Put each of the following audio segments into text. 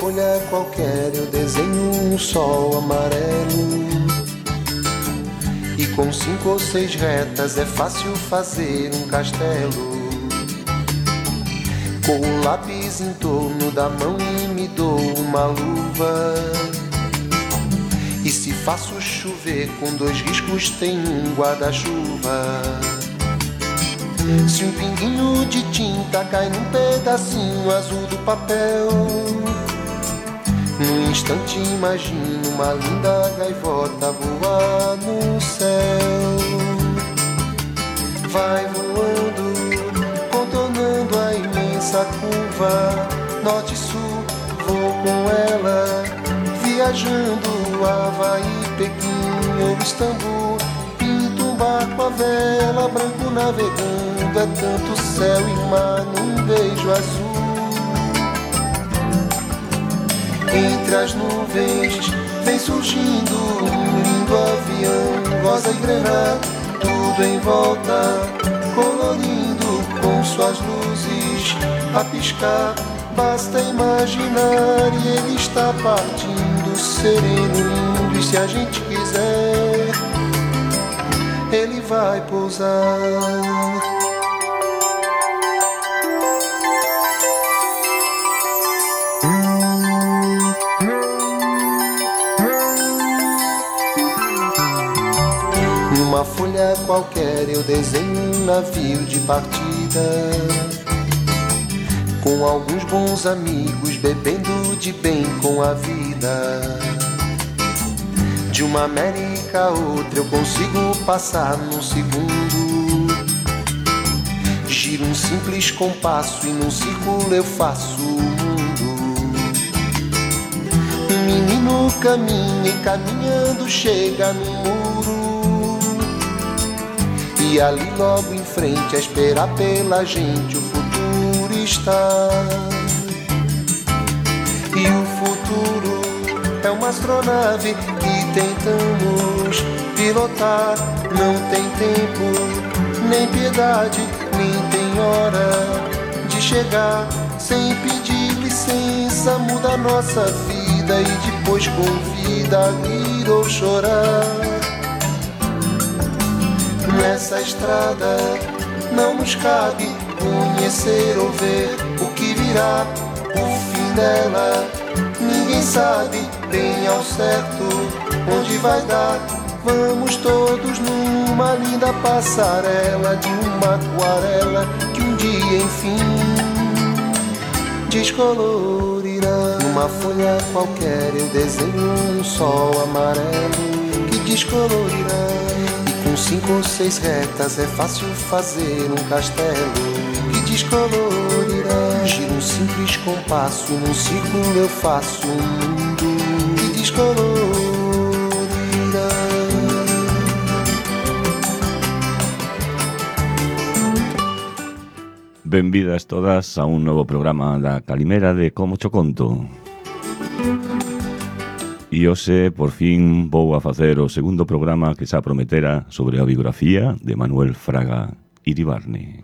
folha qualquer eu desenho um sol amarelo. E com 5 ou 6 retas é fácil fazer um castelo. Com o lápis em torno da mão e me dou uma luva. E se faço chover com 2 riscos tem um guarda-chuva. Se um pinguinho de tinta cai num pedacinho azul do papel, num instante imagino uma linda gaivota voar no céu. Vai voando, contornando a imensa curva, norte e sul, vou com ela, viajando Havaí, Pequim ou Istambul. Pinto um barco à vela, branco navegando, é tanto céu e mar num beijo azul. Entre as nuvens vem surgindo um lindo avião, rosa e grená, tudo em volta, colorindo com suas luzes a piscar. Basta imaginar e ele está partindo, sereno, lindo, e se a gente quiser, ele vai pousar. Numa folha qualquer eu desenho um navio de partida, com alguns bons amigos bebendo de bem com a vida. De uma América a outra eu consigo passar num segundo. Giro um simples compasso e num círculo eu faço o mundo. Um menino caminha e caminhando chega no muro, e ali logo em frente a esperar pela gente o futuro está. E o futuro é uma astronave que tentamos pilotar. Não tem tempo, nem piedade, nem tem hora de chegar. Sem pedir licença muda a nossa vida e depois convida a rir ou chorar. Nessa estrada não nos cabe conhecer ou ver o que virá, o fim dela. Ninguém sabe bem ao certo onde vai dar. Vamos todos numa linda passarela de uma aquarela que um dia enfim descolorirá. Numa folha qualquer eu desenho um sol amarelo que descolorirá. Com 5 ou 6 retas é fácil fazer um castelo que descolorirá. Giro um simples compasso, num círculo eu faço um mundo que descolorirá. Benvidas todas a un novo programa da Calimera de Como Cho Conto. E hoxe, por fin, vou a facer o segundo programa que xa prometera sobre a biografía de Manuel Fraga Iribarne.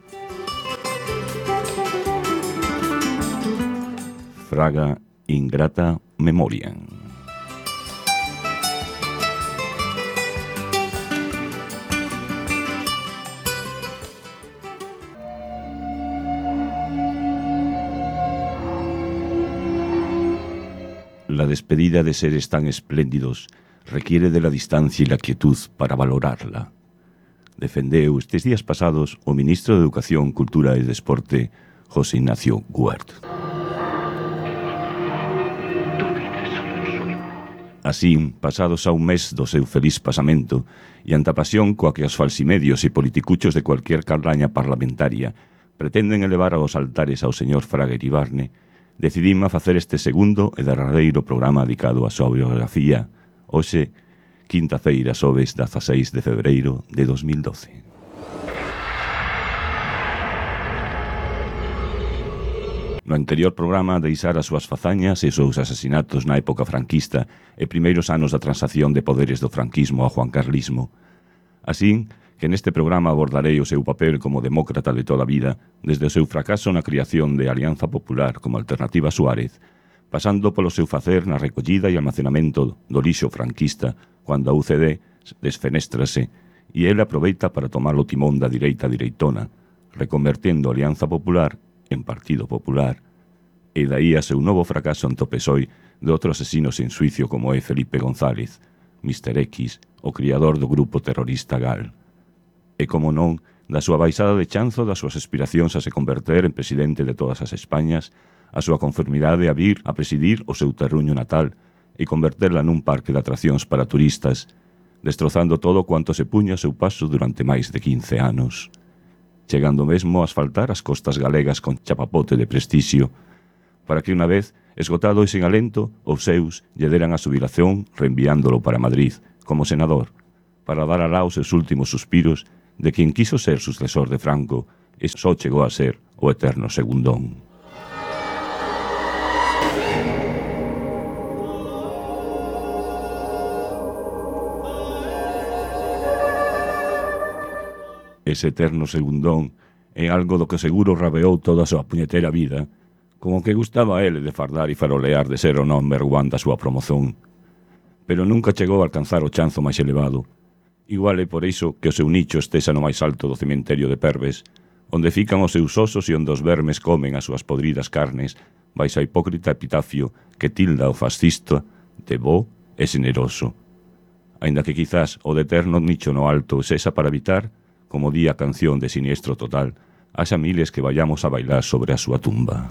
Fraga Ingrata Memoriam. La despedida de seres tan espléndidos requiere de la distancia y la quietud para valorarla. Defendeu estes días pasados o ministro de Educación, Cultura e Desporte, José Ignacio Guert. Así, pasados a un mes do seu feliz pasamento e ante a pasión coa que os falsimedios e politicuchos de cualquier carraña parlamentaria pretenden elevar aos altares ao señor Fraga Iribarne, decidimos facer este segundo e derradeiro programa dedicado á súa biografía, hoxe, quinta-feira, xoves 16 de febreiro de 2012. No anterior programa deixara as súas fazañas e os seus asasinatos na época franquista e primeiros anos da transacción de poderes do franquismo ao juancarlismo. Así que neste programa abordarei o seu papel como demócrata de toda a vida, desde o seu fracaso na criación de Alianza Popular como alternativa a Suárez, pasando polo seu facer na recollida e almacenamento do lixo franquista cando a UCD desfenéstrase e ele aproveita para tomar o timón da direita direitona, reconvertendo a Alianza Popular en Partido Popular. E daí a seu novo fracaso ante o PSOE de outro asesino sen suicio como é Felipe González, Mr. X, o criador do grupo terrorista GAL. E como non, da súa baixada de chanzo das súas aspiracións a se converter en presidente de todas as Españas, a súa conformidade a vir a presidir o seu terruño natal e converterla nun parque de atraccións para turistas, destrozando todo cuanto se puña a seu paso durante máis de 15 anos, chegando mesmo a asfaltar as costas galegas con chapapote de prestixio, para que unha vez, esgotado e sen alento, os seus lle deran a xubilación reenviándolo para Madrid, como senador, para dar alá os seus últimos suspiros de quen quiso ser sucesor de Franco e só chegou a ser o eterno segundón. Ese eterno segundón é algo do que seguro rabeou toda a súa puñetera vida, como que gustaba a ele de fardar e farolear de ser o number one da súa promoción. Pero nunca chegou a alcanzar o chanzo máis elevado. Igual é por iso que o seu nicho estesa no máis alto do cementerio de Perves, onde fican os seus osos e onde os vermes comen as súas podridas carnes, baixo a hipócrita epitafio que tilda o fascista de bo e generoso. Aínda que quizás o de eterno nicho no alto sexa para evitar, como di a canción de Siniestro Total, haxa miles que vayamos a bailar sobre a súa tumba.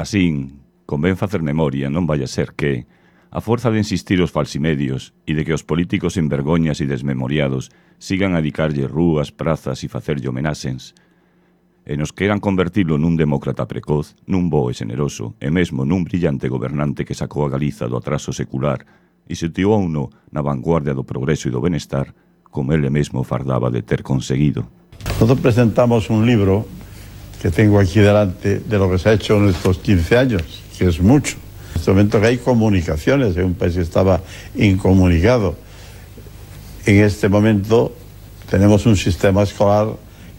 Asín, convén facer memoria, non vai a ser que, a forza de insistir os falsimedios e de que os políticos en vergoñas e desmemoriados sigan a dedicarlle rúas, prazas e facerlle homenaxens, e nos queran convertilo nun demócrata precoz, nun bo e generoso, e mesmo nun brillante gobernante que sacou a Galiza do atraso secular e situouno na vanguardia do progreso e do benestar, como ele mesmo fardaba de ter conseguido. Nosotros presentamos un libro que tengo aquí delante de lo que se ha hecho en estos 15 años, que es mucho. En este momento que hay comunicaciones, en un país que estaba incomunicado. En este momento tenemos un sistema escolar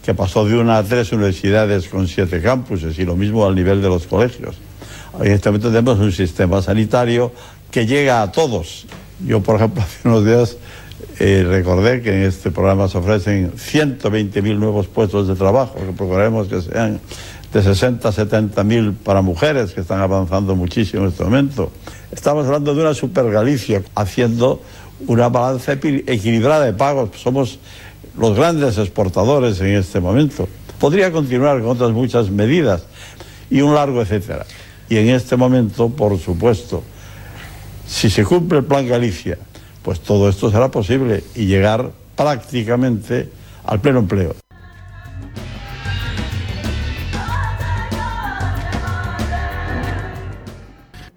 que pasó de 1 a 3 universidades con 7 campuses y lo mismo al nivel de los colegios. En este momento tenemos un sistema sanitario que llega a todos. Yo, por ejemplo, hace unos días recordé que en este programa se ofrecen 120.000 nuevos puestos de trabajo, que procuraremos que sean de 60 a 70.000 para mujeres, que están avanzando muchísimo en este momento. Estamos hablando de una Super Galicia, haciendo una balanza equilibrada de pagos. Somos los grandes exportadores en este momento. Podría continuar con otras muchas medidas y un largo etcétera. Y en este momento, por supuesto, si se cumple el Plan Galicia, pues todo esto será posible y llegar prácticamente al pleno empleo.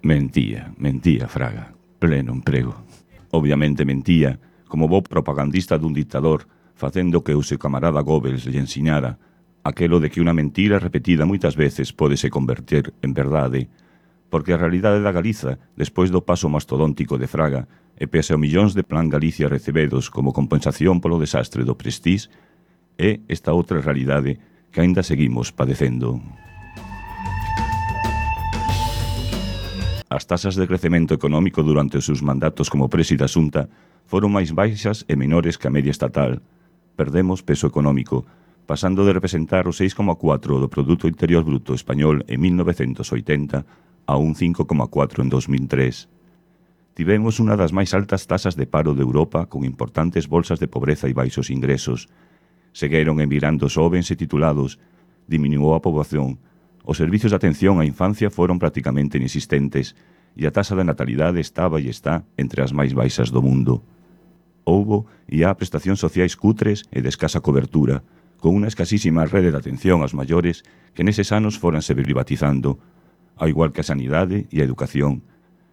Mentía Fraga, pleno emprego. Obviamente mentía, como bo propagandista dun dictador, facendo que o seu camarada Goebbels lle ensinara aquelo de que unha mentira repetida moitas veces pódese converter en verdade, porque a realidade da Galiza, despois do paso mastodóntico de Fraga, e pese a millóns de Plan Galicia recebedos como compensación polo desastre do Prestige, é esta outra realidade que aínda seguimos padecendo. As tasas de crecemento económico durante os seus mandatos como presi da Xunta foron máis baixas e menores que a media estatal. Perdemos peso económico, pasando de representar o 6,4% do Produto Interior Bruto español en 1980 a un 5,4% en 2003. Tivemos unha das máis altas tasas de paro de Europa con importantes bolsas de pobreza e baixos ingresos. Segueron emigrando xovens e titulados, diminuou a poboación, os servicios de atención á infancia foron prácticamente inexistentes e a tasa de natalidade estaba e está entre as máis baixas do mundo. Houbo e há prestacións sociais cutres e de escasa cobertura, con unha escasísima rede de atención aos maiores que neses anos foranse privatizando, ao igual que a sanidade e a educación,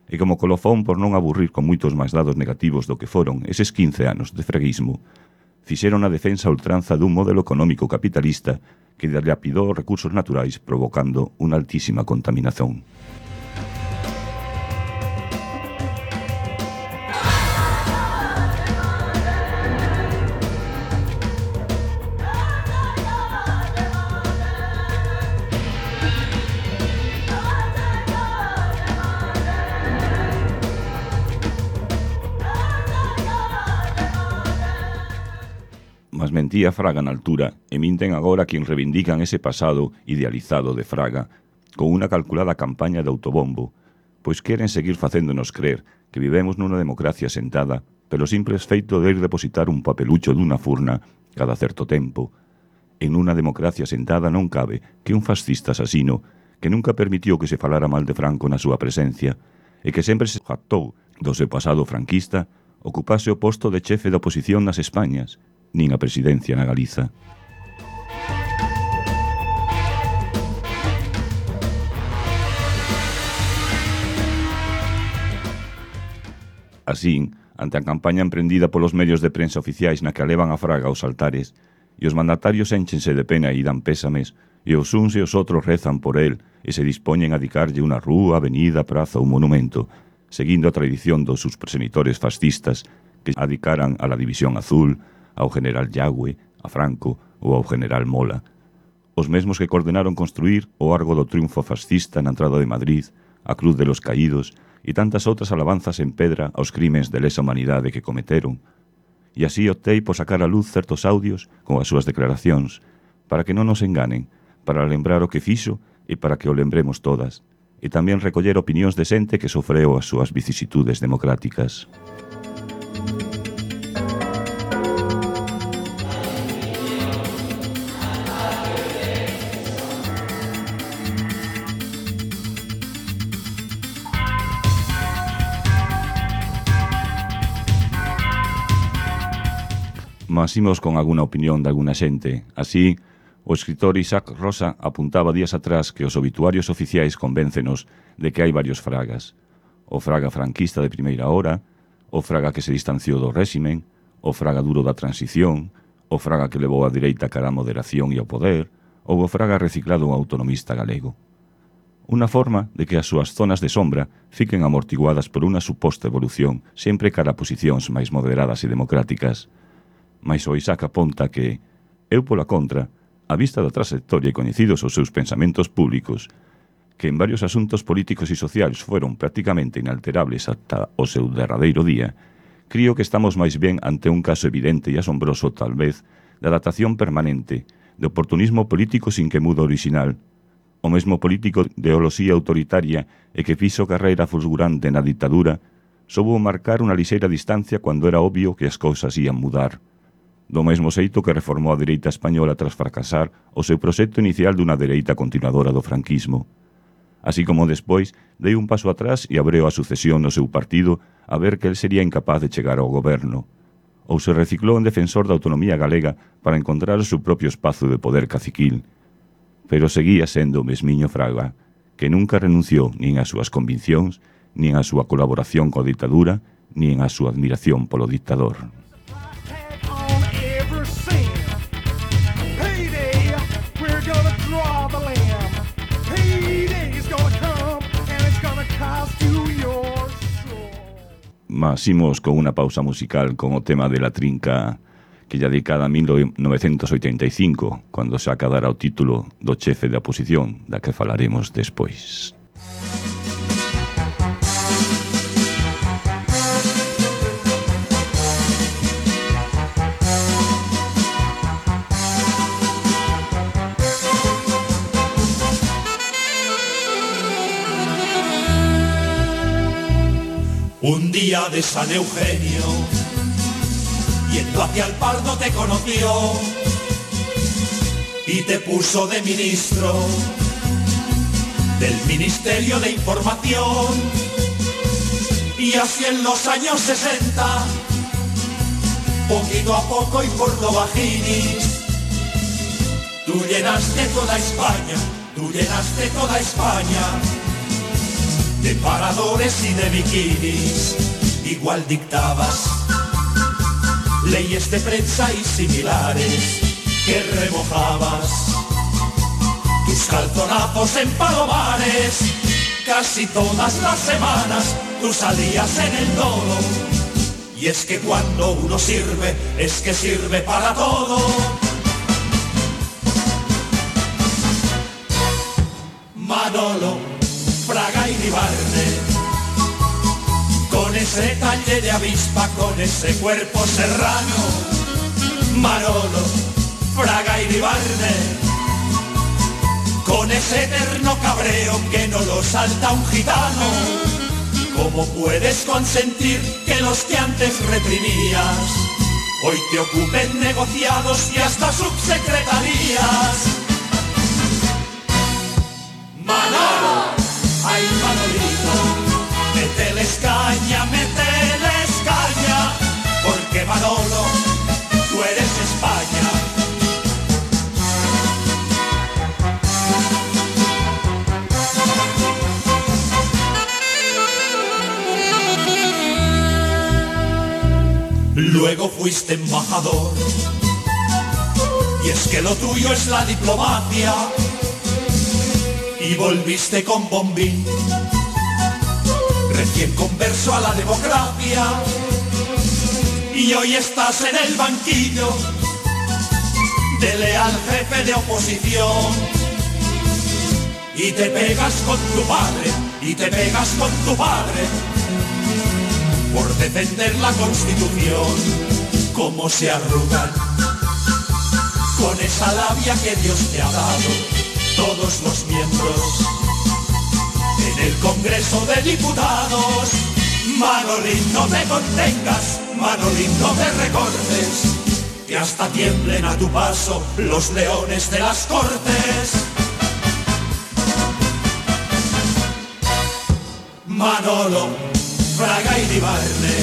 e como colofón por non aburrir con moitos máis dados negativos do que foron eses 15 anos de freguismo, fixeron a defensa a ultranza dun modelo económico capitalista que dilapidou os recursos naturais provocando unha altísima contaminación. Mas mentía Fraga na altura e minten agora quen reivindican ese pasado idealizado de Fraga con unha calculada campaña de autobombo, pois queren seguir facéndonos crer que vivemos nunha democracia sentada pelo simple feito de ir depositar un papelucho dunha furna cada certo tempo. En unha democracia sentada non cabe que un fascista asasino que nunca permitiu que se falara mal de Franco na súa presencia e que sempre se jactou do seu pasado franquista ocupase o posto de chefe da oposición nas Españas, nin a presidencia na Galiza. Así, ante a campaña emprendida polos medios de prensa oficiais na que alevan a Fraga aos altares, e os mandatarios énchense de pena e dan pésames, e os uns e os outros rezan por el e se dispoñen a dedicarlle unha rúa, avenida, praza ou monumento, seguindo a tradición dos sus progenitores fascistas que adicaran a la División Azul, ao general Yagüe, a Franco ou ao general Mola. Os mesmos que coordenaron construir o Arco do Triunfo fascista na entrada de Madrid, a Cruz de los Caídos e tantas outras alabanzas en pedra aos crimes de lesa humanidade que cometeron. E así optei por sacar a luz certos audios con as súas declaracións, para que non nos enganen, para lembrar o que fixo e para que o lembremos todas, e tamén recoller opinións de xente que sofreu as súas vicisitudes democráticas. Mas imos con alguna opinión de alguna xente. Así, o escritor Isaac Rosa apuntaba días atrás que os obituarios oficiais convéncenos de que hai varios Fragas. O Fraga franquista de primeira hora, o Fraga que se distanciou do réximen, o Fraga duro da transición, o Fraga que levou a dereita cara a moderación e ao poder, ou o Fraga reciclado un autonomista galego. Unha forma de que as súas zonas de sombra fiquen amortiguadas por unha suposta evolución sempre cara a posicións máis moderadas e democráticas. Mais o Isaac aponta que, eu pola contra, a vista da trayectoria e coñecidos os seus pensamentos públicos, que en varios asuntos políticos e sociais foron prácticamente inalterables ata o seu derradeiro día, crío que estamos máis ben ante un caso evidente e asombroso, tal vez, de adaptación permanente, de oportunismo político sin que mudo original, o mesmo político de ideoloxía autoritaria e que fixo carreira fulgurante na ditadura, soubo marcar unha lixeira distancia cando era obvio que as cousas ían mudar. Do mesmo xeito que reformou a dereita española tras fracasar o seu proxecto inicial dunha dereita continuadora do franquismo. Así como despois dei un paso atrás e abreu a sucesión no seu partido a ver que el sería incapaz de chegar ao goberno. Ou se reciclou en defensor da autonomía galega para encontrar o seu propio espazo de poder caciquil. Pero seguía sendo o mesmiño Fraga, que nunca renunciou nin ás súas conviccións, nin á súa colaboración coa ditadura, nin á súa admiración polo dictador. Mas imos con unha pausa musical con o tema de La Trinca, que ya dedicada a 1985, cando xa acadará o título do chefe da oposición, da que falaremos despois. Un día de San Eugenio, yendo hacia el Pardo te conoció y te puso de ministro del Ministerio de Información. Y así en los años 60, poquito a poco y por lo bajinis, tú llenaste toda España, tú llenaste toda España de paradores y de bikinis. Igual dictabas leyes de prensa y similares que remojabas tus calzonazos en palomares. Casi todas las semanas tú salías en el todo. Y es que cuando uno sirve, es que sirve para todo. Manolo, Fraga y Ribarne, con ese talle de avispa, con ese cuerpo serrano. Manolo, Fraga y Ribarne, con ese eterno cabreo que no lo salta un gitano. ¿Cómo puedes consentir que los que antes reprimías hoy te ocupen negociados y hasta subsecretarías? Manolo, ay Manolito, mételes caña, porque Manolo, tú eres España. Luego fuiste embajador, y es que lo tuyo es la diplomacia, y volviste con bombín, recién converso a la democracia, y hoy estás en el banquillo de leal jefe de oposición, y te pegas con tu padre, y te pegas con tu padre, por defender la Constitución. Cómo se arrugan con esa labia que Dios te ha dado todos los miembros en el Congreso de Diputados. Manolín, no te contengas, Manolín, no te recortes, que hasta tiemblen a tu paso los leones de las Cortes. Manolo, Fraga y Ribarne,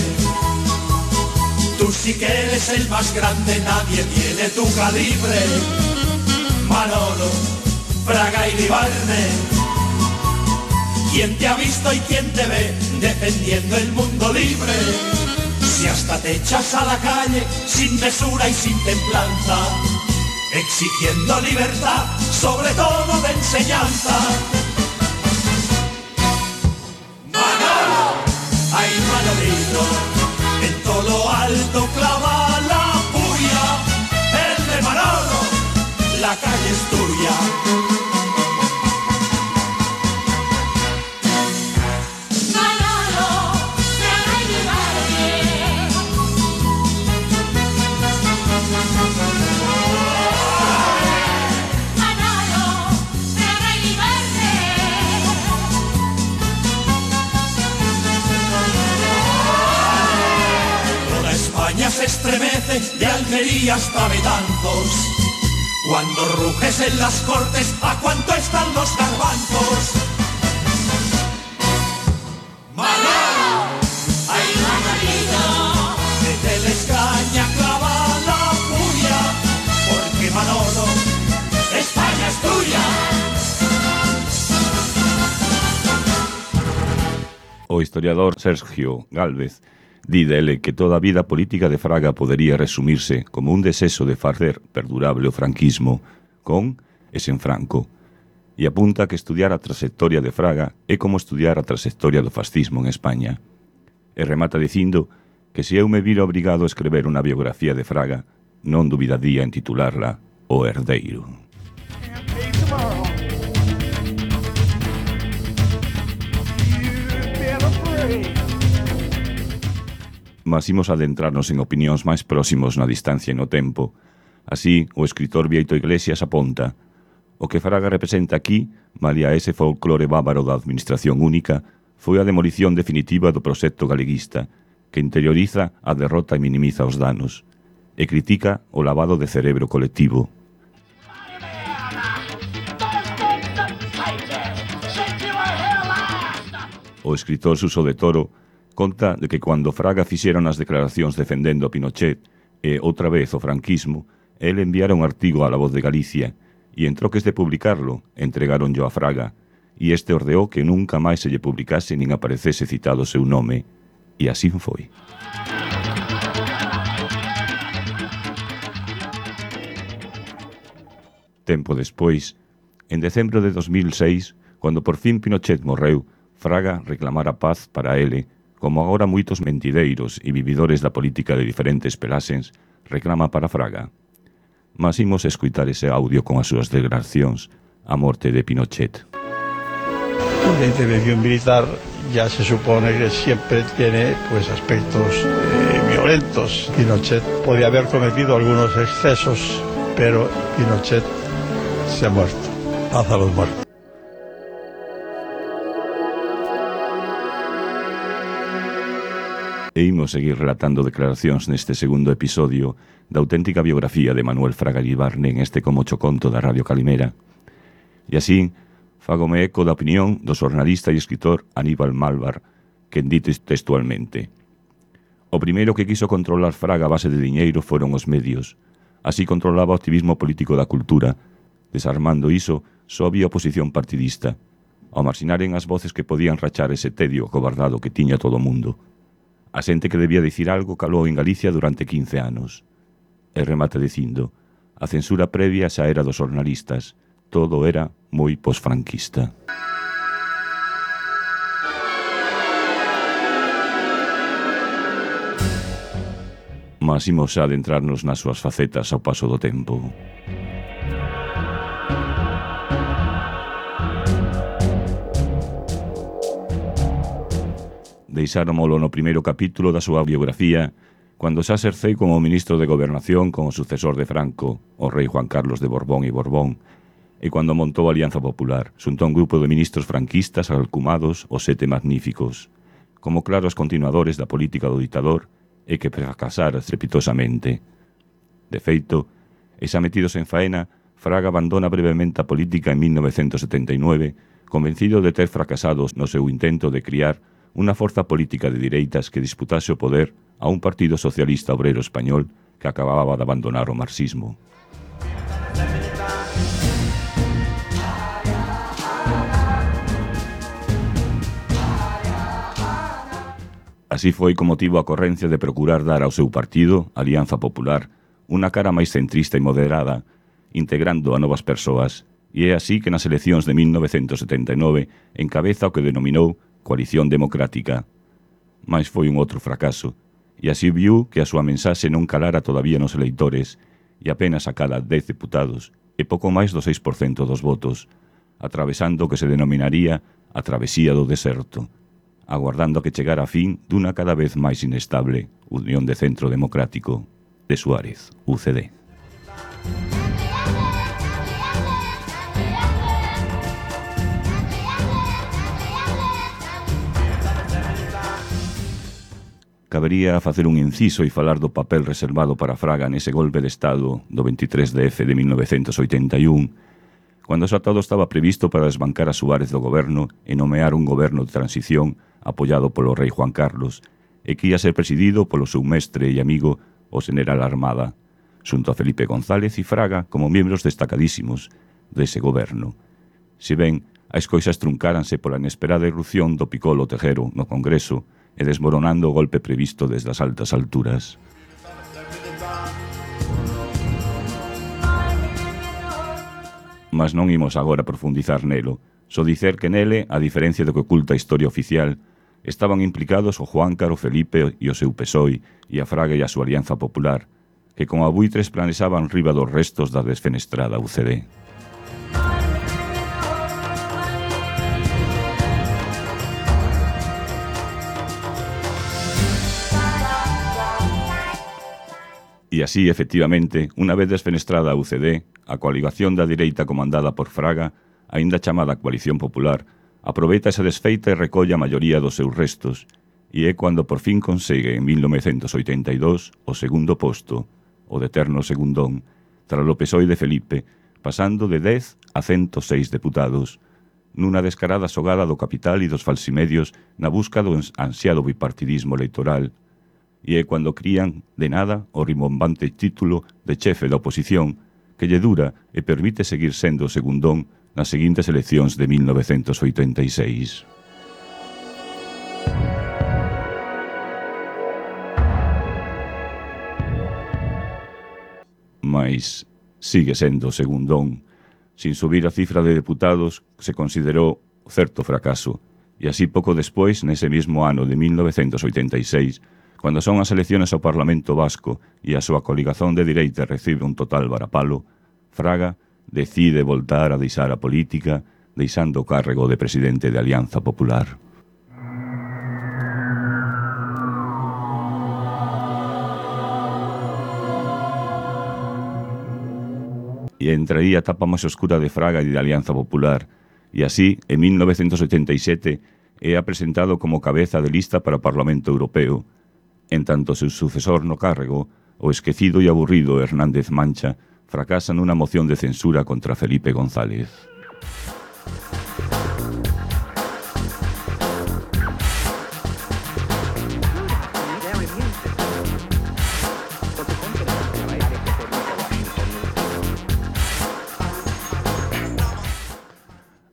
tú sí que eres el más grande, nadie tiene tu calibre. Manolo, Fraga y Ribarne, ¿quién te ha visto y quién te ve defendiendo el mundo libre? Si hasta te echas a la calle sin mesura y sin templanza, exigiendo libertad, sobre todo de enseñanza. Manolo, ay Manolito, en todo lo alto clava la puya. El de Manolo, la calle es tuya. Se estremece de Almería hasta Betanzos cuando ruges en las cortes a cuánto están los garbanzos. Manolo, ay Manolito, mételes caña, clava la furia, porque Manolo, España es tuya. O historiador Sergio Gálvez di dele que toda a vida política de Fraga podería resumirse como un deseso de facer perdurable o franquismo con e sen Franco, e apunta que estudiar a trayectoria de Fraga é como estudiar a trayectoria do fascismo en España. E remata dicindo que se eu me vira obrigado a escrever unha biografía de Fraga, non dubidaría en titularla O Herdeiro. Mas imos adentrarnos en opinións máis próximos na distancia e no tempo. Así, o escritor Bieito Iglesias aponta: o que Fraga representa aquí, malia ese folclore bávaro da administración única, foi a demolición definitiva do proxecto galeguista, que interioriza a derrota e minimiza os danos, e critica o lavado de cerebro colectivo. O escritor Suso de Toro conta de que cando Fraga fixeron as declaracións defendendo a Pinochet e outra vez o franquismo, el enviara un artigo a La Voz de Galicia e en troques de publicarlo, entregáronllo a Fraga e este ordeou que nunca máis se lle publicase nin aparecese citado o seu nome. E así foi. Tempo despois, en decembro de 2006, cando por fin Pinochet morreu, Fraga reclamara paz para ele, como agora moitos mentideiros e vividores da política de diferentes pelaxens reclama para Fraga. Mas imos escutar ese audio con as súas declaracións a morte de Pinochet. La intervención militar ya se supone que siempre tiene pues aspectos violentos. Pinochet podía haber cometido algunos excesos, pero Pinochet se ha muerto. Paz a los muertos. E imos seguir relatando declaracións neste segundo episodio da auténtica biografía de Manuel Fraga Iribarne en este Como Choconto da Radio Calimera. E así, fágome eco da opinión do xornalista e escritor Aníbal Malvar, que dite textualmente: o primeiro que quiso controlar Fraga a base de diñeiro foron os medios. Así controlaba o activismo político da cultura. Desarmando iso, só había oposición partidista. Ao marxinaren as voces que podían rachar ese tedio cobardado que tiña todo o mundo. A xente que debía dicir algo calou en Galicia durante 15 anos. E remata dicindo: a censura previa xa era dos xornalistas. Todo era moi posfranquista. Mas imos a adentrarnos nas súas facetas ao paso do tempo. Deixáromolo no primeiro capítulo da súa biografía, cando xa exerceu como ministro de Gobernación con o sucesor de Franco, o rei Juan Carlos de Borbón e Borbón, e cando montou a Alianza Popular, xunto a un grupo de ministros franquistas alcumados os Sete Magníficos, como claros continuadores da política do ditador e que fracasara estrepitosamente. De feito, e xa metidos en faena, Fraga abandona brevemente a política en 1979, convencido de ter fracasado no seu intento de criar unha forza política de direitas que disputase o poder a un partido socialista obrero español que acababa de abandonar o marxismo. Así foi como tivo a correncia de procurar dar ao seu partido, Alianza Popular, unha cara máis centrista e moderada, integrando a novas persoas, e é así que nas eleccións de 1979 encabeza o que denominou Coalición Democrática. Mais foi un outro fracaso, e así viu que a súa mensaxe non calara todavía nos eleitores, e apenas a cada 10 deputados, e pouco máis do 6% dos votos, atravesando o que se denominaría a travesía do deserto, aguardando a que chegara a fin dunha cada vez máis inestable Unión de Centro Democrático de Suárez, UCD. Cabería facer un inciso e falar do papel reservado para Fraga nese golpe de Estado do 23 de 1981, cando xa todo estaba previsto para desbancar a Suárez do goberno e nomear un goberno de transición apoiado polo rei Juan Carlos e que ia ser presidido polo seu mestre e amigo o General Armada, xunto a Felipe González e Fraga como membros destacadísimos dese goberno. Si ben, as cousas truncáranse pola inesperada irrupción do Piccolo Tejero no Congreso e desmoronando o golpe previsto desde as altas alturas. Mas non imos agora profundizar nelo, só dicer que nele, a diferencia do que oculta a historia oficial, estaban implicados o Juáncaro, Felipe e o seu PSOE e a Fraga e a súa Alianza Popular, que como abuitres planesaban riba dos restos da desfenestrada UCD. E así, efectivamente, unha vez desfenestrada a UCD, a coaligación da direita comandada por Fraga, aínda chamada Coalición Popular, aproveita esa desfeita e recolle a maioría dos seus restos, e é cando por fin consegue, en 1982, o segundo posto, o de eterno segundón, tras o PSOE de Felipe, pasando de 10 a 106 deputados, nunha descarada xogada do capital e dos falsimedios na busca do ansiado bipartidismo electoral, e é cando crían, de nada, o rimbombante título de chefe da oposición que lle dura e permite seguir sendo segundón nas seguintes eleccións de 1986. Mais sigue sendo segundón. Sin subir a cifra de deputados, se considerou certo fracaso, e así pouco despois, nese mesmo ano de 1986, cando son as elecciones ao Parlamento Vasco e a súa coligazón de dereita recibe un total varapalo, Fraga decide voltar a deixar a política, deixando o cargo de presidente de Alianza Popular. E entraría a etapa máis oscura de Fraga e de Alianza Popular, e así, en 1987, é presentado como cabeza de lista para o Parlamento Europeo. En tanto seu sucesor no cargo, o esquecido e aburrido Hernández Mancha, fracasa nunha moción de censura contra Felipe González.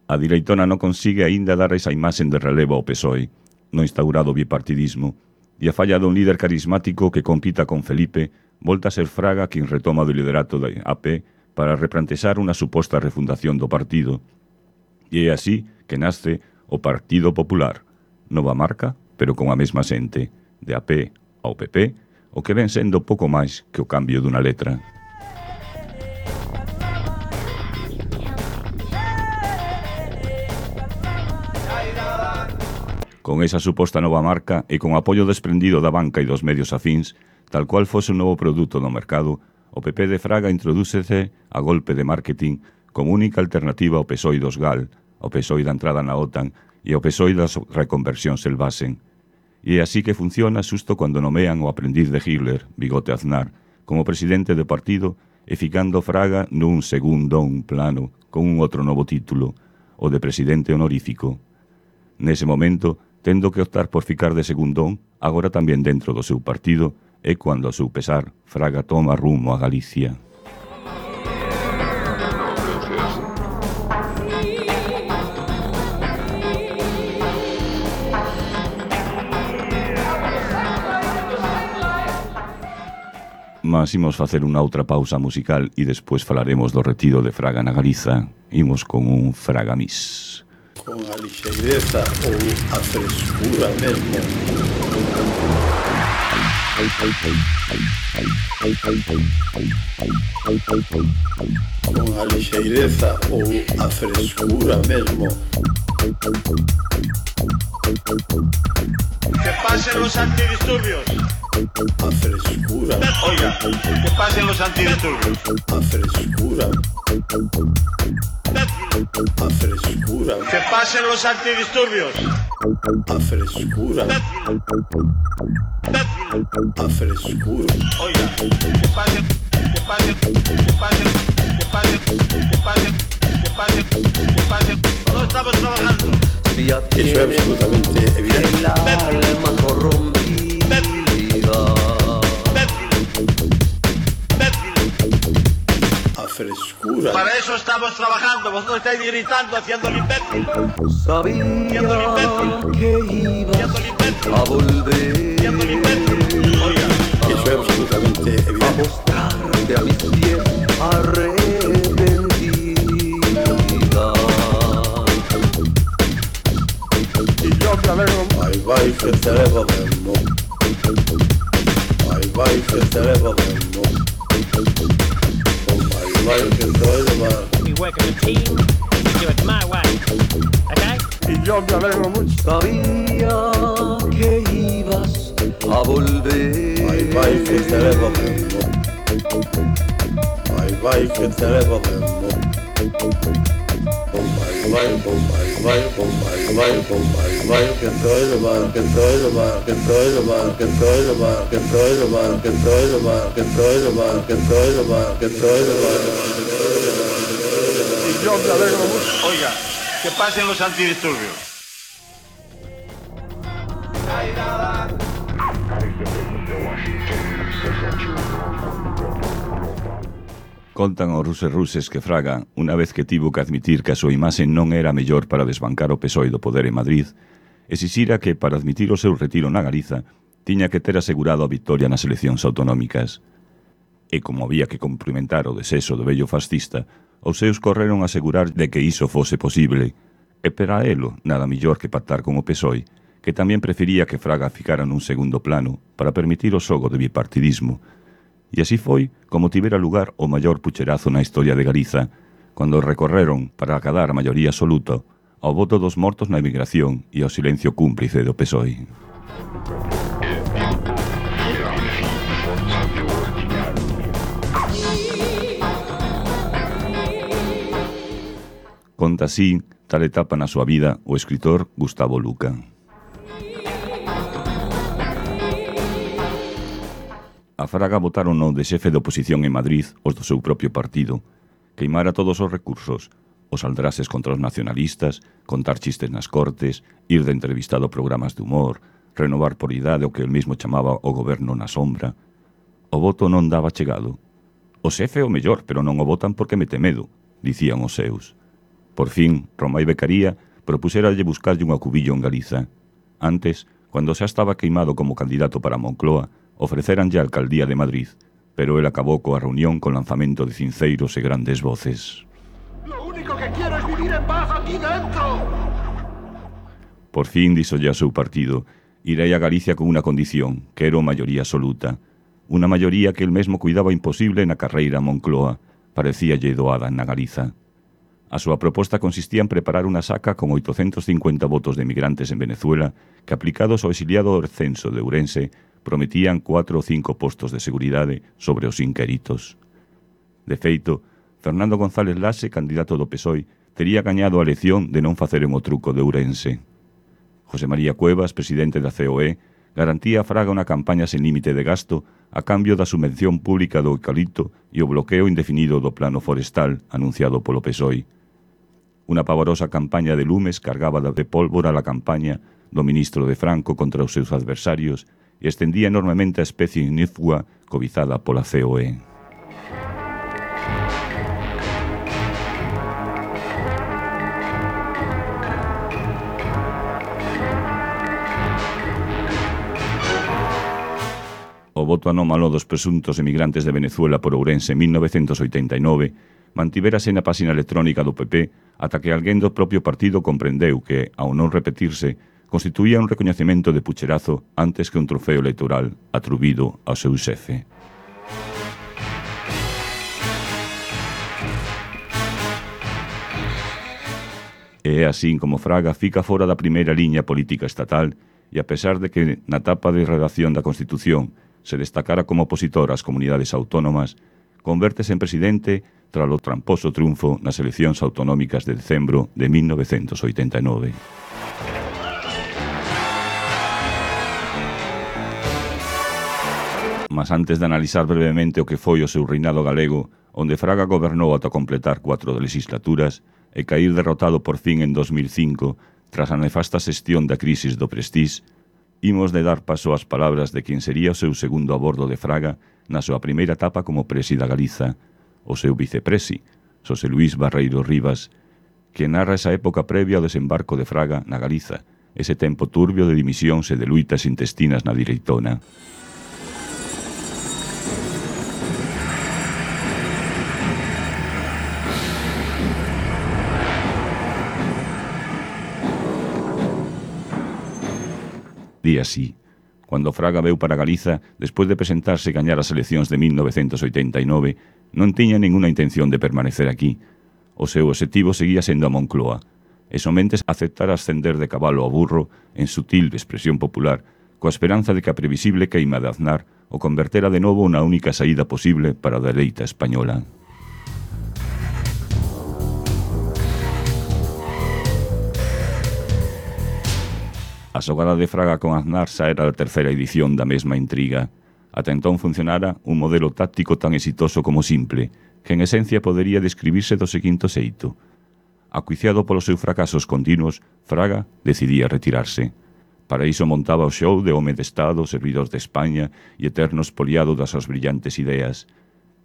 A direitona non consigue aínda dar esa imaxen de relevo ao PSOE, no instaurado bipartidismo, e a falla dun líder carismático que compita con Felipe, volta a ser Fraga quen retoma do liderato da AP para replantexar unha suposta refundación do partido. E é así que nace o Partido Popular, nova marca, pero con a mesma xente, de AP ao PP, o que ven sendo pouco máis que o cambio dunha letra. Con esa suposta nova marca e con apoio desprendido da banca e dos medios afíns, tal cual fose un novo produto no mercado, o PP de Fraga introdúcese a golpe de marketing como única alternativa ao PSOE dos GAL, ao PSOE da entrada na OTAN e ao PSOE das reconversións Selvasen. E é así que funciona xusto cando nomean o aprendiz de Hitler, Bigote Aznar, como presidente do partido e ficando Fraga nun segundón plano con un outro novo título, o de presidente honorífico. Nese momento, tendo que optar por ficar de segundón, agora tamén dentro do seu partido, é cando, a seu pesar, Fraga toma rumo a Galicia. Mas imos facer unha outra pausa musical e despois falaremos do retiro de Fraga na Galiza. Imos con un Fragamís. Con a lixeireza ou a frescura mesmo. Con a lixeireza ou a frescura mesmo. Que pasen los antidisturbios. A frescura. Oiga, que pasen los antidisturbios. A frescura. A frescura. Que pasen los antidisturbios. A frescura. A frescura. Oiga, que pasen, que pasen, que pasen, que pasen, que pasen, que pasen, que pasen. No estamos trabajando. Eso es absolutamente evidente. El alma corrompida. A frescura. Para eso estamos trabajando. Vosotros estáis gritando, haciendo el imbécil. Sabía que ibas a volver. Haciendo el imbécil. Oiga, Eso es absolutamente A evidente. mostrarte a mis pies arrepentida. Vai, vai, que te levo mesmo. Vai, que te levo mesmo. Vai, que te levo. We work as a team, we do it my way. Okay? Sabía que ibas a volver. Vai, que te levo mesmo. Vai, que te levo mesmo. Vai, que te levo, que te levo, que te levo, que te levo, que te levo, que te levo, que te levo, que te levo, que te levo. oiga, que pasen los antidisturbios. Contan os ruses que Fraga, unha vez que tivo que admitir que a súa imaxe non era mellor para desbancar o PSOE do poder en Madrid, exixira que, para admitir o seu retiro na Galiza, tiña que ter asegurado a victoria nas eleccións autonómicas. E como había que cumprimentar o desexo do vello fascista, os seus correron a asegurar de que iso fose posible, e para elo nada millor que pactar con o PSOE, que tamén prefería que Fraga ficara nun segundo plano para permitir o xogo de bipartidismo. E así foi como tivera lugar o maior pucherazo na historia de Galiza, cando recorreron para acadar a maioría absoluta ao voto dos mortos na emigración e ao silencio cúmplice do PSOE. Conta así tal etapa na súa vida o escritor Gustavo Luca. A Fraga votaron no de xefe de oposición en Madrid os do seu propio partido, queimara todos os recursos, os aldrases contra os nacionalistas, contar chistes nas cortes, ir de entrevistado a programas de humor, renovar por idade o que el mesmo chamaba o goberno na sombra. O voto non daba chegado. O xefe é o mellor, pero non o votan porque mete medo, dicían os seus. Por fin, Romai Becaría propuseralle buscarlle un acubillo en Galiza. Antes, cando xa estaba queimado como candidato para Moncloa, ofreceranlle a alcaldía de Madrid, pero él acabou coa reunión con lanzamento de cinceiros e grandes voces. Lo único que quiero es vivir en paz aquí dentro. Por fin, díxolle a seu partido, irei a Galicia con unha condición, que era a maioría absoluta. Unha maioría que el mesmo cuidaba imposible na carreira a Moncloa, parecíalle doada na Galiza. A súa proposta consistía en preparar unha saca con 850 votos de emigrantes en Venezuela que, aplicados ao exiliado censo de Ourense, prometían 4 ou 5 postos de seguridade sobre os inquéritos. De feito, Fernando González Laxe, candidato do PSOE, tería gañado a elección de non facer o truco de Ourense. José María Cuevas, presidente da COE, garantía a Fraga unha campaña sen límite de gasto a cambio da subvención pública do eucalipto e o bloqueo indefinido do plano forestal anunciado polo PSOE. Unha pavorosa campaña de lumes cargaba de pólvora a campaña do ministro de Franco contra os seus adversarios e estendía enormemente a especie ignífuga cobizada pola COE. O O voto anómalo dos presuntos emigrantes de Venezuela por Ourense en 1989 mantivérase na páxina electrónica do PP ata que alguén do propio partido comprendeu que, ao non repetirse, constituía un recoñecemento de pucherazo antes que un trofeo electoral atribuído ao seu xefe. E é así como Fraga fica fora da primeira liña política estatal e a pesar de que na tapa de redacción da Constitución se destacara como opositor ás comunidades autónomas, convértese en presidente tras o tramposo triunfo nas eleccións autonómicas de decembro de 1989. Mas antes de analizar brevemente o que foi o seu reinado galego, onde Fraga gobernou ata completar 4 legislaturas e cair derrotado por fin en 2005 tras a nefasta xestión da crisis do Prestige, imos de dar paso ás palabras de quen sería o seu segundo a bordo de Fraga na súa primeira etapa como presi da Galiza, o seu vicepresi, Xosé Luís Barreiro Rivas, que narra esa época previa ao desembarco de Fraga na Galiza, ese tempo turbio de dimisións e de luitas intestinas na direitona. Di así: Cando Fraga veu para Galiza, despois de presentarse e gañar as eleccións de 1989, non tiña ninguna intención de permanecer aquí. O seu obxectivo seguía sendo a Moncloa, e somente aceptar ascender de cabalo ao burro, en sutil expresión popular, coa esperanza de que a previsible queima de Aznar o convertera de novo na única saída posible para a dereita española. A xogada de Fraga con Aznar xa era a terceira edición da mesma intriga. Ata entón funcionara un modelo táctico tan exitoso como simple, que en esencia podería describirse do seguinte xeito. Acuiciado polos seus fracasos continuos, Fraga decidía retirarse. Para iso montaba o show de home de Estado, servidor de España e eterno espoliado das súas brillantes ideas.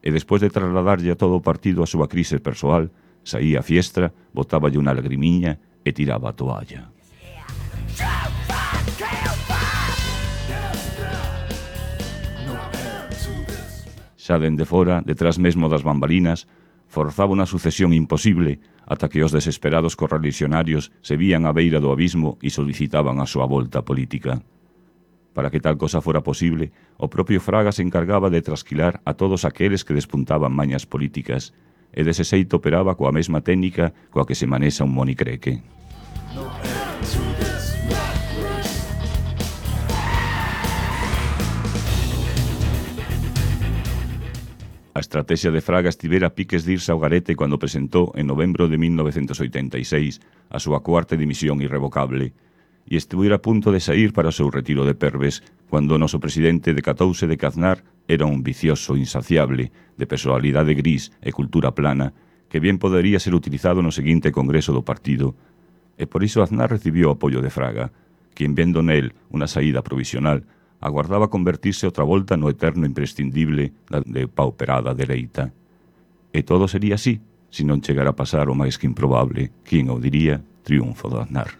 E despois de trasladarlle a todo o partido a súa crise persoal, saía a fiestra, botáballe unha lagrimiña e tiraba a toalla. Xa dende fora, detrás mesmo das bambalinas, forzaba unha sucesión imposible ata que os desesperados correligionarios se vían á beira do abismo e solicitaban a súa volta política. Para que tal cosa fora posible, o propio Fraga se encargaba de trasquilar a todos aqueles que despuntaban mañas políticas e dese xeito operaba coa mesma técnica coa que se manexa un monicreque. A estrategia de Fraga estivera a piques de irse ao garete cando presentou en novembro de 1986 a súa cuarta dimisión irrevocable e estuvera a punto de sair para o seu retiro de Perves cando o noso presidente decatouse de que Aznar era un vicioso insaciable de personalidade gris e cultura plana que bien podería ser utilizado no seguinte congreso do partido. E por iso Aznar recibiu o apoio de Fraga, quien vendo nel unha saída provisional aguardaba convertirse outra volta no eterno imprescindible da depauperada dereita. E todo sería así, se non chegara a pasar o máis que improbable, quen o diría, triunfo do Aznar.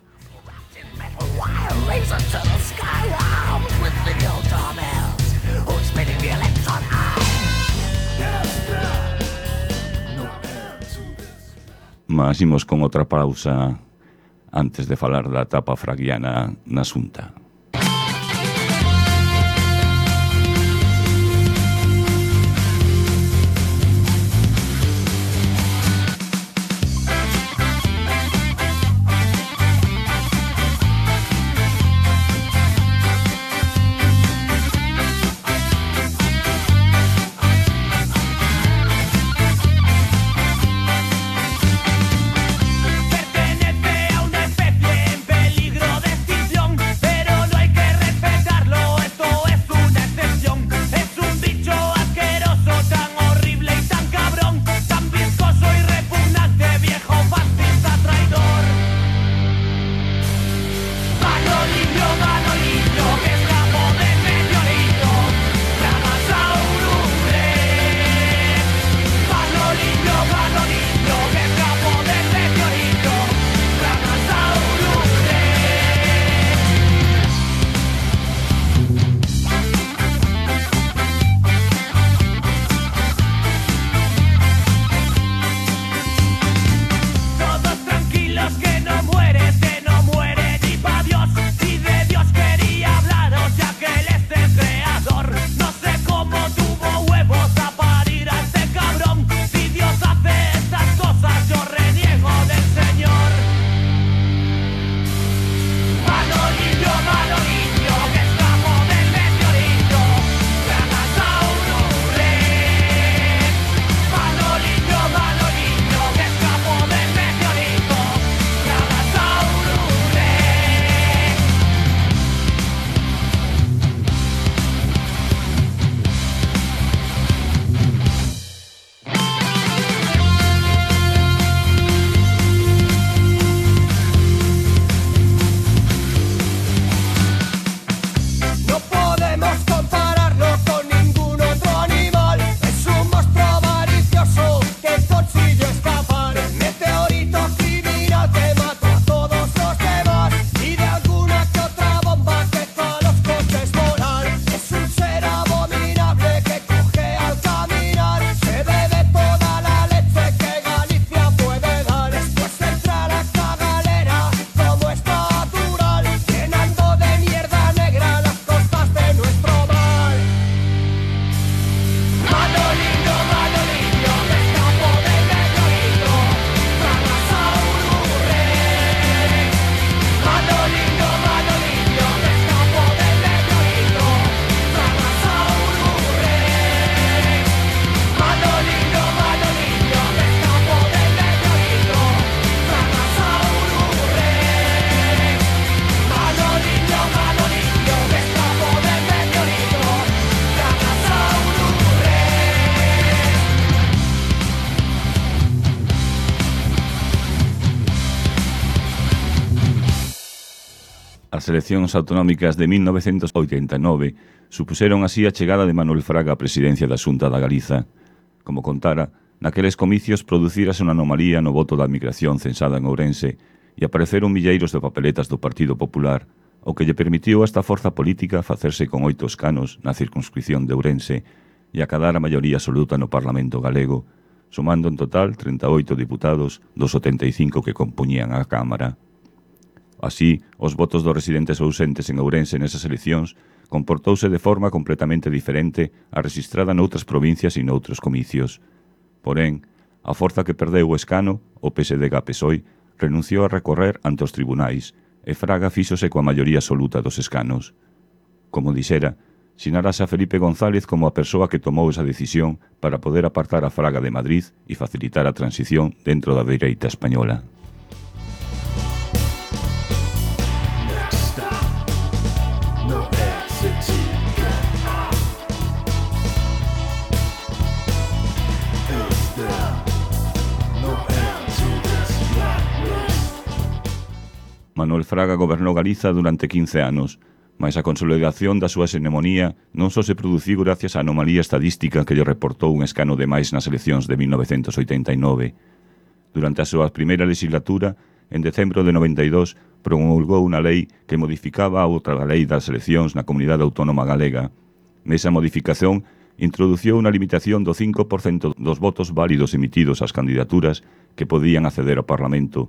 Mas imos con outra pausa antes de falar da etapa fraguiana na Xunta. Pertenece a una especie en peligro de extinción, pero As eleccións autonómicas de 1989 supuseron así a chegada de Manuel Fraga á presidencia da Xunta da Galiza. Como contara, naqueles comicios producírase unha anomalía no voto da migración censada en Ourense e apareceron milleiros de papeletas do Partido Popular, o que lle permitiu a esta forza política facerse con 8 escanos na circunscripción de Ourense e acadar a maioría absoluta no Parlamento galego, sumando en total 38 diputados dos 75 que compuñían a Cámara. Así, os votos dos residentes ausentes en Ourense nesas eleccións comportouse de forma completamente diferente a registrada noutras provincias e noutros comicios. Porén, a forza que perdeu o escano, o PSDG-PSOE, renunciou a recorrer ante os tribunais e Fraga fíxose coa maioría absoluta dos escanos. Como dixera, sinarase a Felipe González como a persoa que tomou esa decisión para poder apartar a Fraga de Madrid e facilitar a transición dentro da dereita española. Manuel Fraga gobernou Galiza durante 15 anos, mas a consolidación da súa xenemonía non só se produciu gracias á anomalía estadística que lle reportou un escano de máis nas eleccións de 1989. Durante a súa primeira legislatura, en decembro de 92, promulgou unha lei que modificaba a outra lei das eleccións na comunidade autónoma galega. Nesa modificación, introduciu unha limitación do 5% dos votos válidos emitidos ás candidaturas que podían acceder ao Parlamento,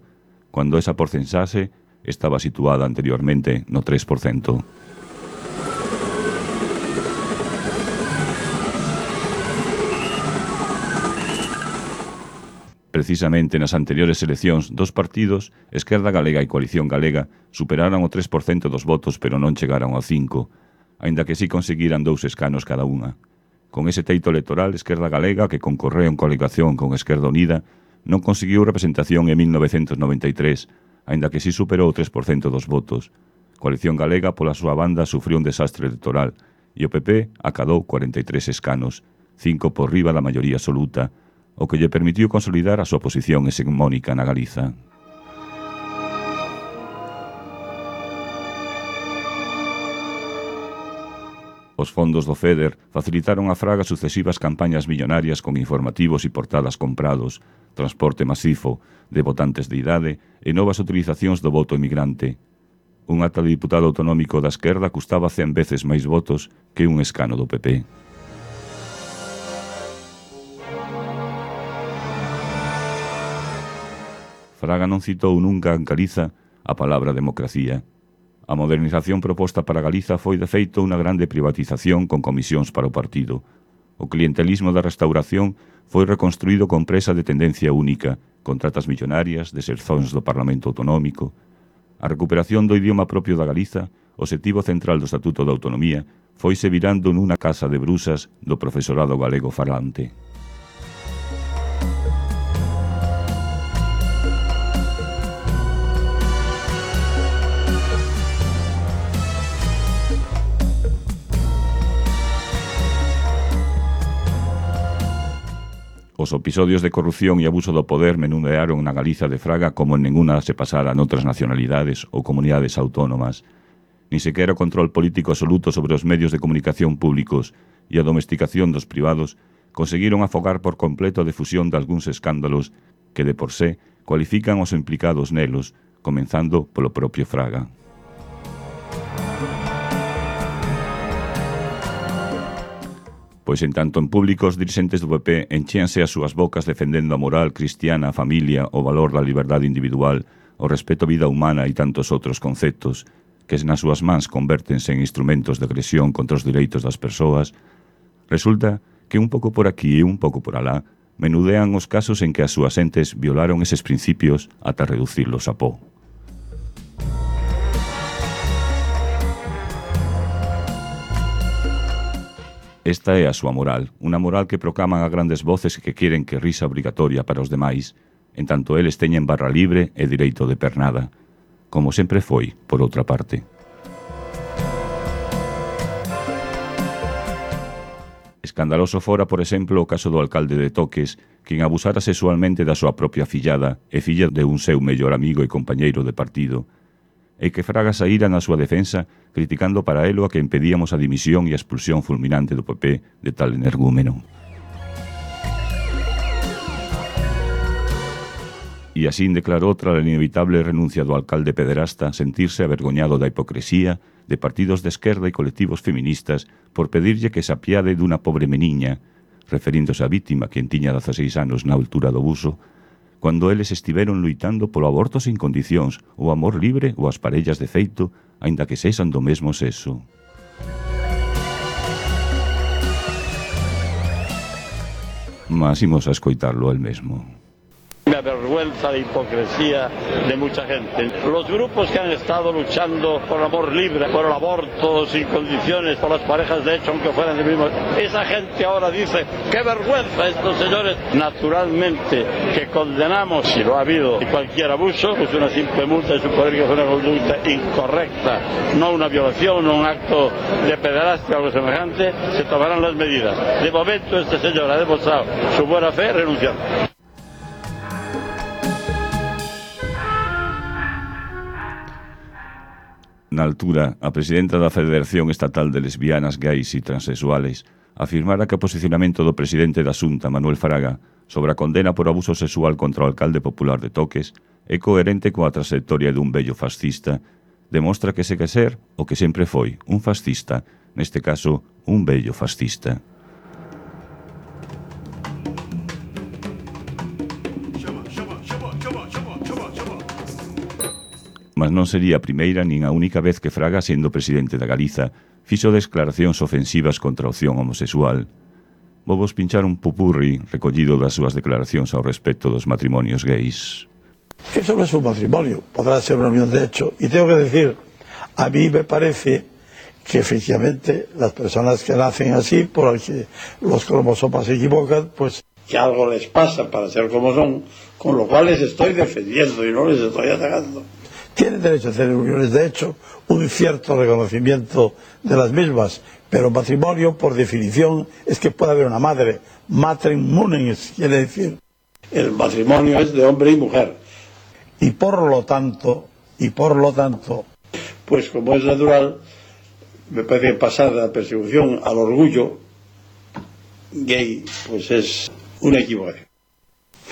cando esa porcentaxe estaba situada anteriormente no 3%. Precisamente nas anteriores eleccións, dos partidos, Esquerda Galega e Coalición Galega, superaron o 3% dos votos pero non chegaron ao 5%, aínda que sí conseguiran 2 escanos cada unha. Con ese teito electoral, Esquerda Galega, que concorreu en coligación con Esquerda Unida, non conseguiu representación en 1993, aínda que sí superou o 3% dos votos. Coalición Galega, pola súa banda, sufriu un desastre electoral e o PP acadou 43 escanos, 5 por riba da maioría absoluta, o que lle permitiu consolidar a súa posición hegemónica na Galiza. Os fondos do FEDER facilitaron a Fraga sucesivas campañas millonarias con informativos e portadas comprados, transporte masifo de votantes de idade e novas utilizacións do voto emigrante. Un ata de diputado autonómico da esquerda custaba 100 veces máis votos que un escano do PP. Fraga non citou nunca en Galiza a palabra democracia. A modernización proposta para Galiza foi de feito unha grande privatización con comisións para o partido. O clientelismo da restauración foi reconstruído con presa de tendencia única, contratas millonarias, desercións do Parlamento Autonómico. A recuperación do idioma propio da Galiza, o obxectivo central do Estatuto de Autonomía, foise virando nunha casa de brusas do profesorado galego falante. Os episodios de corrupción e abuso do poder menudearon na Galiza de Fraga como en ninguna se pasara noutras nacionalidades ou comunidades autónomas. Ni sequera o control político absoluto sobre os medios de comunicación públicos e a domesticación dos privados conseguiron afogar por completo a difusión de algúns escándalos que de por sé cualifican os implicados nelos, comenzando polo propio Fraga. Pois en tanto en público os dirixentes do PP enchíanse as súas bocas defendendo a moral cristiana, a familia, o valor da liberdade individual, o respeto á vida humana e tantos outros conceptos que nas súas mans convértense en instrumentos de agresión contra os direitos das persoas, resulta que un pouco por aquí e un pouco por alá menudean os casos en que as súas entes violaron eses principios ata reducirlos a pó. Esta é a súa moral, unha moral que proclaman a grandes voces que queren que risa obrigatoria para os demais, en tanto eles teñen barra libre e direito de pernada, como sempre foi, por outra parte. Escandaloso fora, por exemplo, o caso do alcalde de Toques, quen abusara sexualmente da súa propia fillada e filla de un seu mellor amigo e compañeiro de partido. e que Fraga saíra na súa defensa criticando para elo a que impedíamos a dimisión e a expulsión fulminante do PP de tal energúmeno. E así declarou tras a inevitable renuncia do alcalde pederasta sentirse avergoñado da hipocresía de partidos de esquerda e colectivos feministas por pedirlle que se apiade dunha pobre meniña, referíndose á vítima quen tiña 16 anos na altura do abuso, cando eles estiveron luitando polo aborto sin condicións, o amor libre ou as parellas de feito, aínda que sexan do mesmo sexo. Mas imos a escoitarlo el mesmo. Me avergüenza la hipocresía de mucha gente. Los grupos que han estado luchando por el amor libre, por el aborto sin condiciones, por las parejas de hecho, aunque fueran de mismo, esa gente ahora dice, ¡qué vergüenza estos señores! Naturalmente que condenamos, si lo ha habido, cualquier abuso, pues una simple multa de suponer que fue una conducta incorrecta, no una violación, no un acto de pederastia o algo semejante, se tomarán las medidas. De momento este señor ha demostrado su buena fe renunciando. Na altura, a presidenta da Federación Estatal de Lesbianas, Gays e Transexuales afirmara que o posicionamento do presidente da Xunta, Manuel Fraga, sobre a condena por abuso sexual contra o alcalde popular de Toques é coherente coa trayectoria dun vello fascista, demostra que segue ser o que sempre foi, un fascista, neste caso, un vello fascista. Mas non sería a primeira nin a única vez que Fraga, sendo presidente da Galiza, fixo declaracións ofensivas contra a opción homosexual. Vou pinchar un pupurri recollido das súas declaracións ao respecto dos matrimonios gays. Eso no es un matrimonio, podrá ser una unión de hecho. Y tengo que decir, a mí me parece que efectivamente las personas que nacen así, por que los cromosomas se equivocan, pues que algo les pasa para ser como son, con lo cual les estoy defendiendo y no les estoy atacando. Tienen derecho a hacer uniones de hecho, un cierto reconocimiento de las mismas, pero matrimonio, por definición, es que puede haber una madre. Matrem munens, quiere decir, el matrimonio es de hombre y mujer. Y por lo tanto, pues como es natural, me parece que pasar de la persecución al orgullo gay, pues es una equivocación.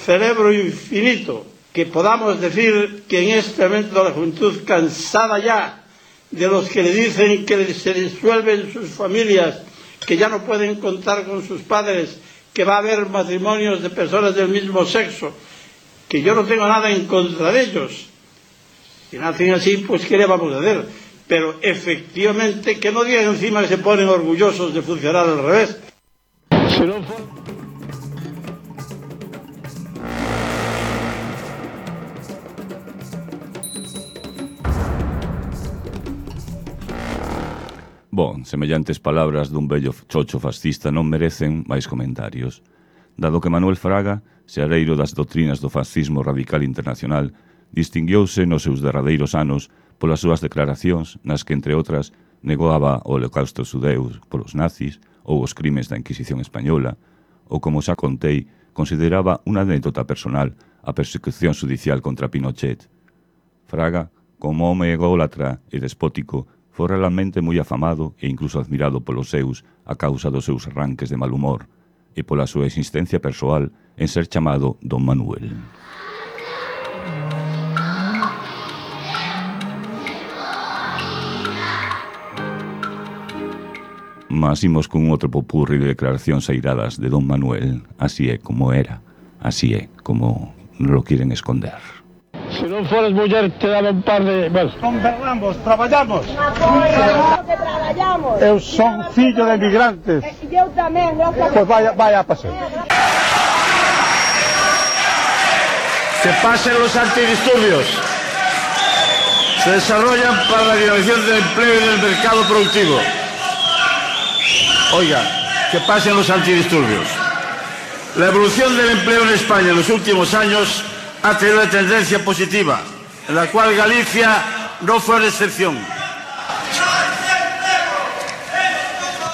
Celebro infinito que podamos decir que en este momento la juventud, cansada ya de los que le dicen que se disuelven sus familias, que ya no pueden contar con sus padres, que va a haber matrimonios de personas del mismo sexo, que yo no tengo nada en contra de ellos. Si nacen así, pues ¿qué le vamos a hacer? Pero efectivamente que no digan encima que se ponen orgullosos de funcionar al revés. Si no fue... Bon, semellantes palabras dun vello chocho fascista non merecen máis comentarios. Dado que Manuel Fraga, seareiro das doutrinas do fascismo radical internacional, distinguiouse nos seus derradeiros anos polas súas declaracións nas que, entre outras, negaba o holocausto xudeus polos nazis ou os crimes da Inquisición española, ou, como xa contei, consideraba unha anécdota personal a persecución judicial contra Pinochet. Fraga, como home ególatra e despótico, foi realmente moi afamado e incluso admirado polos seus a causa dos seus arranques de mal humor e pola súa existencia persoal en ser chamado Don Manuel. Mas imos con outro popurri de declaracións airadas de Don Manuel. Así é como era, así é como lo quieren esconder. Si non foras muller te daba un par de... Bueno. Converramos, traballamos. Que traballamos. Eu son fillo de migrantes. Eu tamén, Pues vaya a pasar. Que pasen los antidisturbios. Se desarrollan para la dinamización del empleo y del mercado productivo. Oiga, que pasen los antidisturbios. La evolución del empleo en España en los últimos años ha tenido una tendencia positiva, en la cual Galicia no fue la excepción.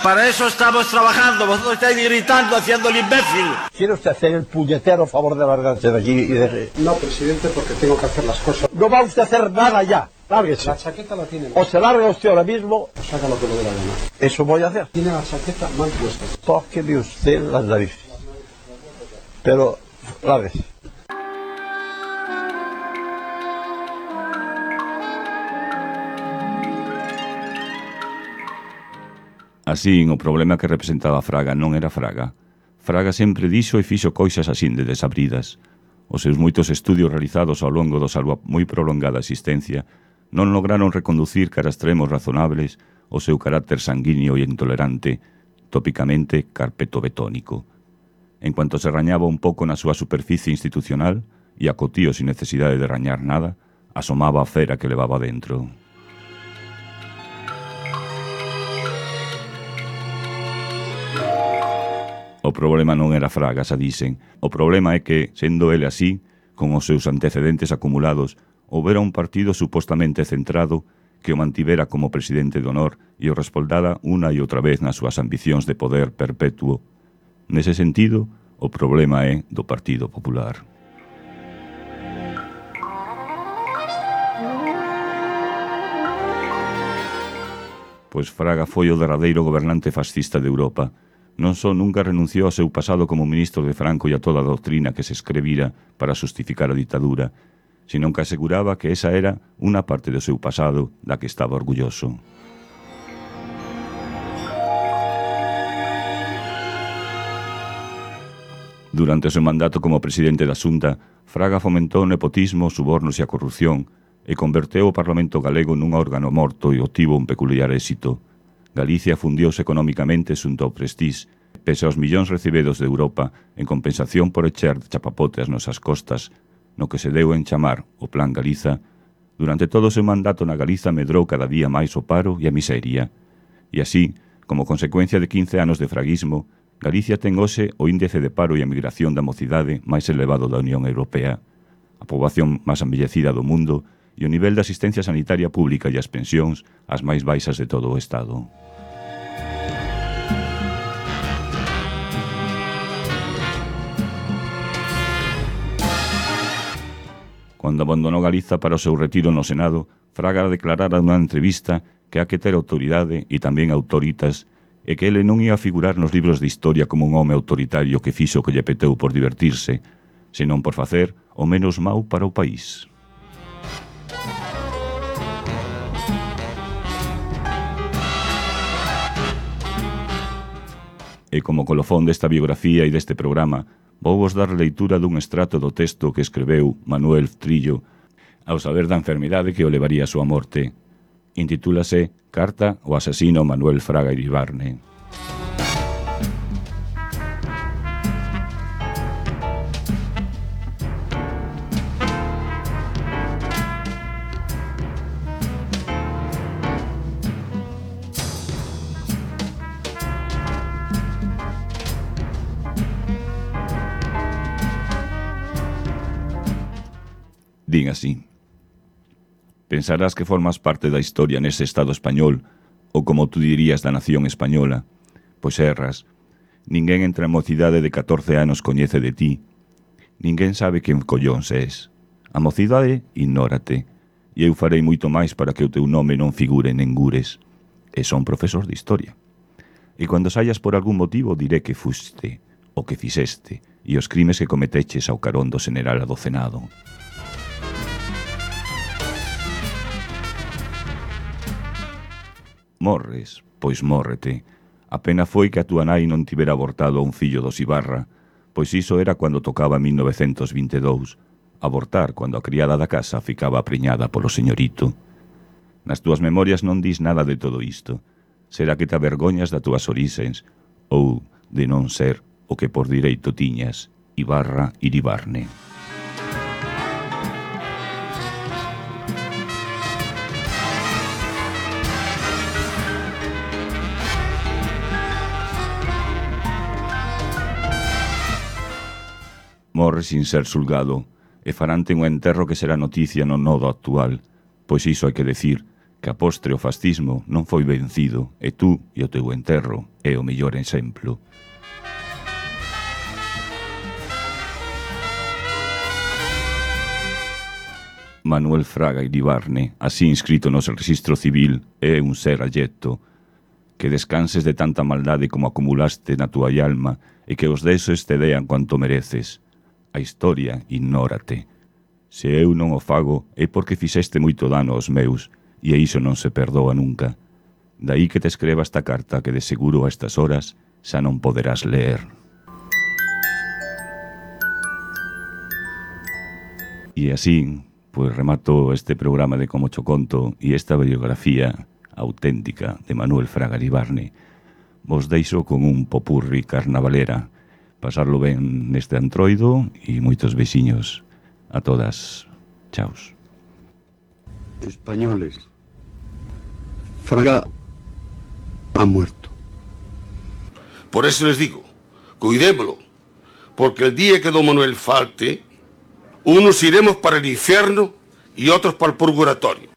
Para eso estamos trabajando, vosotros estáis gritando, haciendo el imbécil. ¿Quiere usted hacer el puñetero favor de largarse de aquí y de... No, presidente, porque tengo que hacer las cosas. No va usted a hacer nada ya, Lárguese. La chaqueta la tiene. O se larga usted ahora mismo. Saca lo que le dé la gana. Eso voy a hacer. Tiene la chaqueta mal puesta. Tóqueme usted las narices. Pero, lárguese. Así, o problema que representaba Fraga non era Fraga. Fraga sempre dixo e fixo cousas así de desabridas. Os seus moitos estudios realizados ao longo da súa moi prolongada existencia non lograron reconducir cara a extremos razonables o seu carácter sanguíneo e intolerante, tópicamente carpetobetónico. En cuanto se rañaba un pouco na súa superficie institucional, e acotío sin necesidade de rañar nada, asomaba a fera que levaba dentro. O problema non era Fraga, xa dixen. O problema é que, sendo ele así, con os seus antecedentes acumulados, houbera un partido supostamente centrado que o mantivera como presidente de honor e o respaldara unha e outra vez nas súas ambicións de poder perpetuo. Nese sentido, o problema é do Partido Popular. Pois Fraga foi o derradeiro gobernante fascista de Europa. Non só nunca renunciou ao seu pasado como ministro de Franco e a toda a doutrina que se escrevira para justificar a ditadura, senón que aseguraba que esa era unha parte do seu pasado da que estaba orgulloso. Durante o seu mandato como presidente da Xunta, Fraga fomentou o nepotismo, subornos e a corrupción e converteu o Parlamento galego nun órgano morto e obtivo un peculiar éxito. Galicia fundiouse económicamente xunto ao Prestige, pese aos millóns recibidos de Europa en compensación por echar chapapote ás nosas costas, no que se deu en chamar o Plan Galiza. Durante todo o seu mandato na Galiza medrou cada día máis o paro e a miseria. E así, como consecuencia de 15 anos de fraguismo, Galicia ten hoxe o índice de paro e a migración da mocidade máis elevado da Unión Europea, a poboación máis envellecida do mundo e o nivel de asistencia sanitaria pública e as pensións as máis baixas de todo o Estado. Cando abandonou Galiza para o seu retiro no Senado, Fraga declarara nunha entrevista que ha que ter autoridade e tamén autoritas e que ele non ia a figurar nos libros de historia como un home autoritario que fixo o que lle peteu por divertirse, senón por facer o menos mau para o país. E como colofón desta biografía e deste programa, vou vos dar leitura dun extrato do texto que escreveu Manuel Trillo ao saber da enfermidade que o levaría a súa morte. Intitúlase Carta ao asesino Manuel Fraga Iribarne. Din así: pensarás que formas parte da historia nese Estado español, ou como tú dirías da nación española, pois erras. Ninguén entre a mocidade de 14 anos coñece de ti. Ninguén sabe quen collóns és. A mocidade ignórate, e eu farei moito máis para que o teu nome non figure en engures. E son profesor de historia. E cando saias por algún motivo diré que fuste, o que fixeste, e os crimes que cometeches ao carón do general adocenado. Morres, pois mórrete. A pena foi que a túa nai non tivera abortado a un fillo dos Ibarra, pois iso era cando tocaba 1922, abortar cando a criada da casa ficaba apreñada polo señorito. Nas túas memorias non dis nada de todo isto. Será que te avergoñas das túas orixens, ou de non ser o que por direito tiñas, Ibarra Iribarne. Morre sin ser xulgado, e farante un enterro que será noticia no nodo actual, pois iso hai que decir, que a postre o fascismo non foi vencido, e tú e o teu enterro é o mellor exemplo. Manuel Fraga Iribarne, así inscrito no seu registro civil, é un ser alleto. Que descanses de tanta maldade como acumulaste na túa alma e que os desos te dean cuanto mereces. A historia ignórate. Se eu non o fago é porque fixeste moito dano aos meus e iso non se perdoa nunca. Daí que te escreva esta carta que de seguro a estas horas xa non poderás ler. E así, pois remato este programa de Como cho conto e esta biografía auténtica de Manuel Fraga Iribarne. Vos deixo con un popurri carnavalera. Pasarlo ben neste antroido e moitos beixiños a todas. Chaos. Españoles, Fraga ha muerto. Por eso les digo, cuidémoslo, porque el día que don Manuel falte, unos iremos para el infierno y otros para el purgatorio.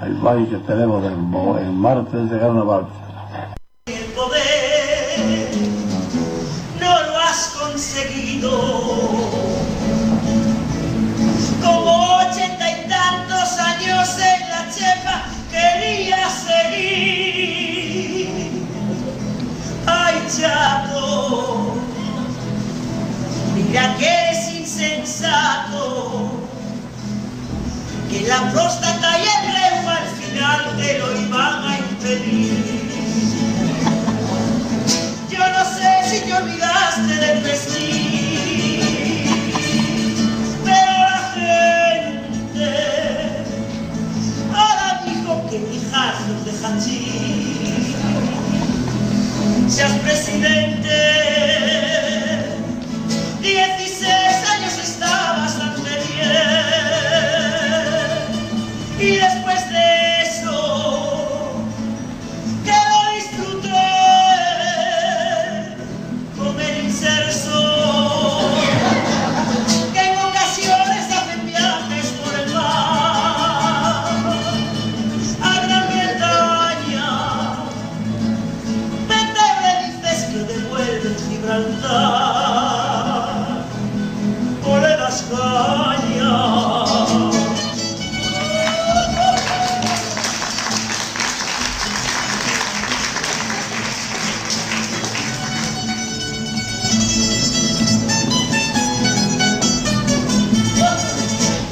Hay baile que tenemos el martes de carnaval. El poder no lo has conseguido. Como 80 y tantos años en la chepa querías seguir. Ay, chato, mira que eres insensato. Que la próstata y el reuma al final te lo iban a impedir. Yo no sé si te olvidaste del vestir, pero la gente ahora dijo que hijazos de hachís. Seas presidente